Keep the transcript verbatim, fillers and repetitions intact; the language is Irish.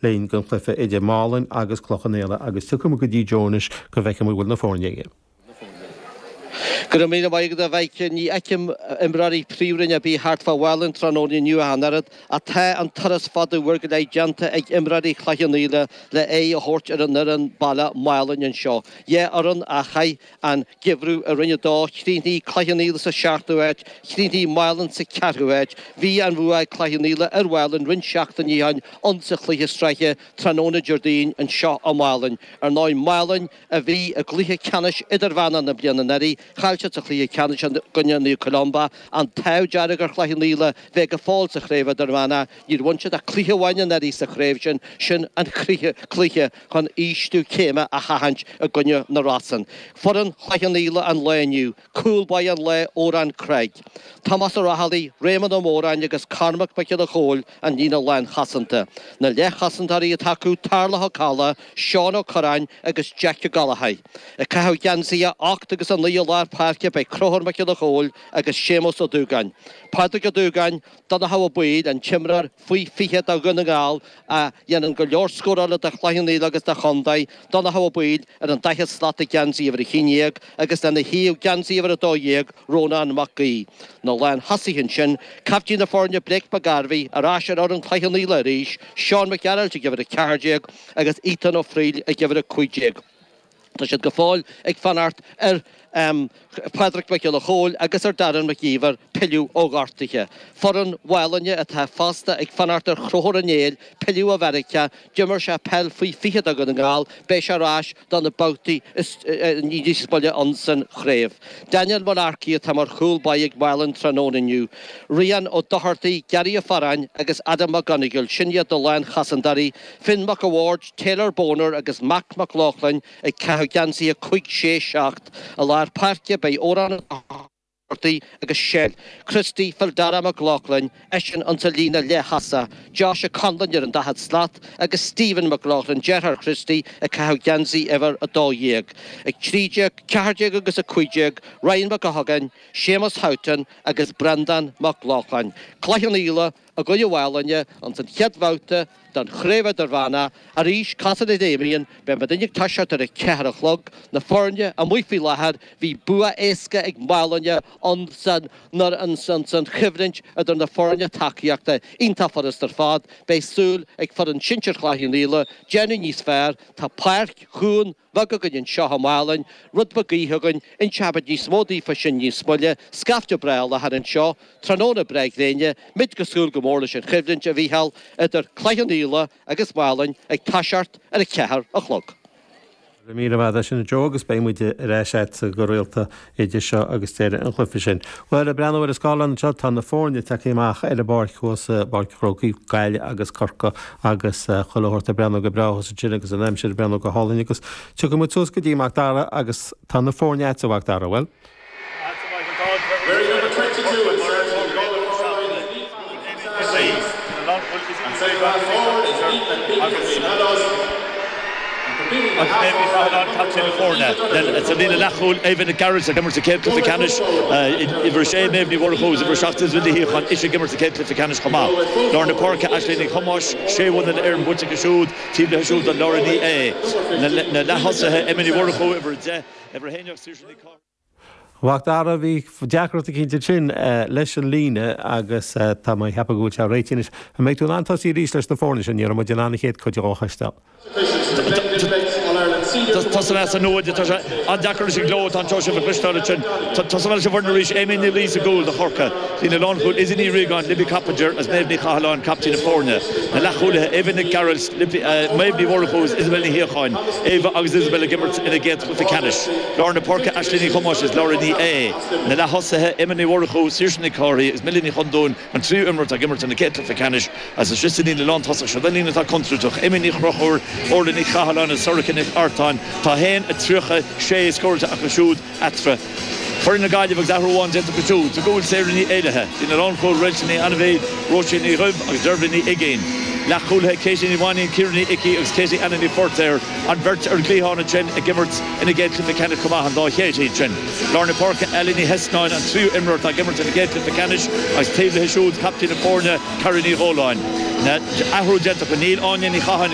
linn don chluiche idir Málainn agus Cloich Cheann Fhaola agus tiocfaidh go dtí Joe anois go bhfeicfidh muid bhfuil na foirne aige. Go raibh míle maith agat a Mhaidhc ní fheicim imreoirí príomhroinne ar bith thart fá Mhálainn tráthnóna inniu ach an oiread ach tá an turas fada uair go leith déanta ag imreoirí Chloich Cheann Fhaola le aghaidh a thabhairt ar an fhoireann baile Málainn anseo. Dhá fhoireann a chaith an geimhreadh i Roinn a Dó, chríochnaigh Cloich Cheann Fhaola sa seachtú háit, chríochnaigh Málainn sa ceathrú háit. Bhí an bhua ag Cloich Cheann Fhaola ar Mhálainn roinnt seachtainí ó shin ann sa chluiche sraithe tráthnóna Déardaoin anseo i Málainn. Ar ndóigh Málainn a bhí i gcluiche ceannais idirmheánach na bliana anuraidh, chaill siad sa chluiche ceannais i gcoinne Naomh Columba, an t-ádh dearg ar Chloich Cheann Fhaola bheith go fóill sa chraobh idirmheánach, níor bhain siad ach cluiche amháin anuraidh sa chraobh sin, sin an cluiche chun ísliú céime a sheachaint i gcoinne na Rosann. Foireann Chloich Cheann Fhaola an lae inniu, cúl báire an lae Odhrán Craig. Tomás Ó Raghallaigh, Réamonn Ó Móráin agus Cormac Mac Giolla Chóill an líne lánchosanta. Na leathchosantóirí atá acu Tarlach Ó Cadhla, Seán Ó Curráin agus Jack Ó Gallachóir. Ag caitheamh geansaithe ocht agus a naoi i lár páirce beidh Conchúr Mac Giolla Chóill agus Séamus Ó Dúgáin. Pádraig Ó Dúgáin, Donncha Ó Baoill, an t-imreoir faoi fiche do Dhún na nGall a dhéanann go leor scórála do Chloich Cheann Fhaola agus do chontae, Donncha Ó Baoill ar an daichead slat ag geansaí uimhir a haon déag agus lena thaobh geansaí uimhir a dó dhéag Rónán Mac Aoidh. Na lánthosaithe ansin, caiftín na foirne Blake McGarvey ar ais ar fhoireann Chloich Cheann Fhaola arís, Seán Mac Gearailt ag uimhir a ceathair déag agus Ethan Ó Frighil ag uimhir a cúig déag. Tá siad go fóill ag fanacht ar um, Pádraig Mac Giolla Chóill agus ar Darren Mac Íomhair pilleadh ó ghortuithe. Foireann Mhálainne atá fosta ag fanacht ar Chonchúr Ó Néill pilleadh ó Mheiriceá, d'imir sé peil faoi fiche do Dhún na nGall, beidh sé ar ais do na babhtaí níos moille ansan chraobh. Daniel Mullarkey atá mar chúl báire ag Málainn tráthnóna inniu. Rian Ó Dochartaí, Gary Ó Faráin agus Adam McGonigal, sin iad na lánchosantóirí, Finn McAward, Taylor Boner agus Mac McLaughlin ag caitheamh geansaithe cúig sé seacht i lár páirce beidh Odhrán agus Shell. Christy Phildara McLaughlin eisean an sa líne leath-thosaigh, Josh Conlon ar an daichead slat agus Stephen McLaughlin deartháir Christy ag caitheamh geansaí uimhir a dó dhéag. Ag trí déag, ceathair déag agus a cúig déag, Ryan McGuckin, Seamus Houghton agus Brendan McLaughlin. Cloich Cheann Fhaola i gcoinne Mhálainne an san chéad bhabhta den chraobh idirmheánach arís cosúil le Damien, beidh muid ag toiseacht ar a ceathair a chlog, na foirne amuigh faoi láthair bhí bua éasca ag Málainne an san an san san choimhlint idir na foirne tacaíochta iontach furast ar fad, beidh súil ag foireann sinsir Chloich Cheann Fhaola déanamh níos fearr tá páirc chuan bheag againn anseo i Málainn, rud beag gaoithe againn, inseoidh níos mó daofa sin níos moille, scaifte breá i láthair anseo, tráthnóna breá gréine, muid ag súil go mór leis an choimhlint a Mhícheáil idir Cloich Cheann Fhaola agus Málainn ag toiseacht ar a ceathair a chlog. Míle maith sin Joe agus beidh muid ar ais go rialta idir seo agus deireadh an chluiche sin. Well ag breathnú ar an scáileán seo tá na foirne tagtha amach ar an bpáirc thuas Páirc an Chrócaigh Gaillimh agus Corcaigh agus chuile shórt ag breathnú go breá sin agus an aimsir ag breathnú go hálainn agus tiocfaidh muid suas go dtí Mac Dara agus tá na foirne agat a Mhac Dara bhfuil. Wearing number twenty-two and serving the goal And second half forward is Ethan Big from Meadows. And completing the half captain foirne sa líne leathchúil Evan Garrett ag imirt sa chéad chluiche ceannais uimhir sé Méabh Ní Mhurchú uimhir seacht is Vilí chun is ag imirt sa chéad chluiche ceannais chomh maith. Lár na páirce Ashley Ní Chumáis sé bhna ar an buite siúd tí le siúd an Laura Ní é. Na leath-thosaithe Emily Mhurchú uimhir deich uimhir haon Saoirse Mhac Dara bhí deacracht cinnte sin leis an líne agus tá mé ag ceapadh go bhfuil sé réitithe anois. An mbeidh tú in ann tosaí arís leis na foirne sin ní raibh muid in ann an chéad chuid a chloisteáil. Tá san nuad tá sé an-deacair leis an gleo tá seo a chloisteáil sin Tá leis an bhfoireann arís Amy Ní Lí sa gcúl do Chorcaigh. Líne lánchúil Izzy Ní Riagáin, Libby Coppinger agus Méabh Ní Chathalláin captaen na foirne. Na leathchúlaithe Eva Nic Gearailt, Méabh Ní Mhurchú Isabel Ní Shíocháin, Eva agus Isabel ag imirt ina gcéad chluiche ceannais. Lár na páirce Ashley Ní Chumáis is Laura Ní É. Na leath-thosaithe Emma Ní Mhurchú, Saoirse Nic Cárthaigh agus Millie Ní Chondúin an tríú imreoir ag imirt ina gcéad chluiche ceannais as a si líne lántosach seo líne atá contúirteach Emmy Ní Chrochúr, Orla Ní Chathalláin is Sorcha Nic Artáin tá haon a tríocha sé scóráilte acu siúd eatarthu. Foireann na Gaillimhe agus athrú amháin déanta acu siúd, sa gcúl Sarah Ní Éilithe, líne lánchúil Réilte Ní Anmhéid, Róisín Ní Dhuibh agus Dervla Ní Uiginn. Leathchúlaithe Katie Ní Mhainín, Ciara Ní Icí agus Katie Anna Ní Fortéir an bheirt ar an gcliathán ansin ag imirt ina gcéad chluiche ceannais chomh maith an dá Katie sin. Lár na páirce Ellie Ní Heasnáin an tríú imreoir ag imirt ina gcéad chluiche ceannais agus taobh léi siúd captaen na foirne Cara Ní Dhóláin. Na athrú déanta go níl Áine Ní Chatháin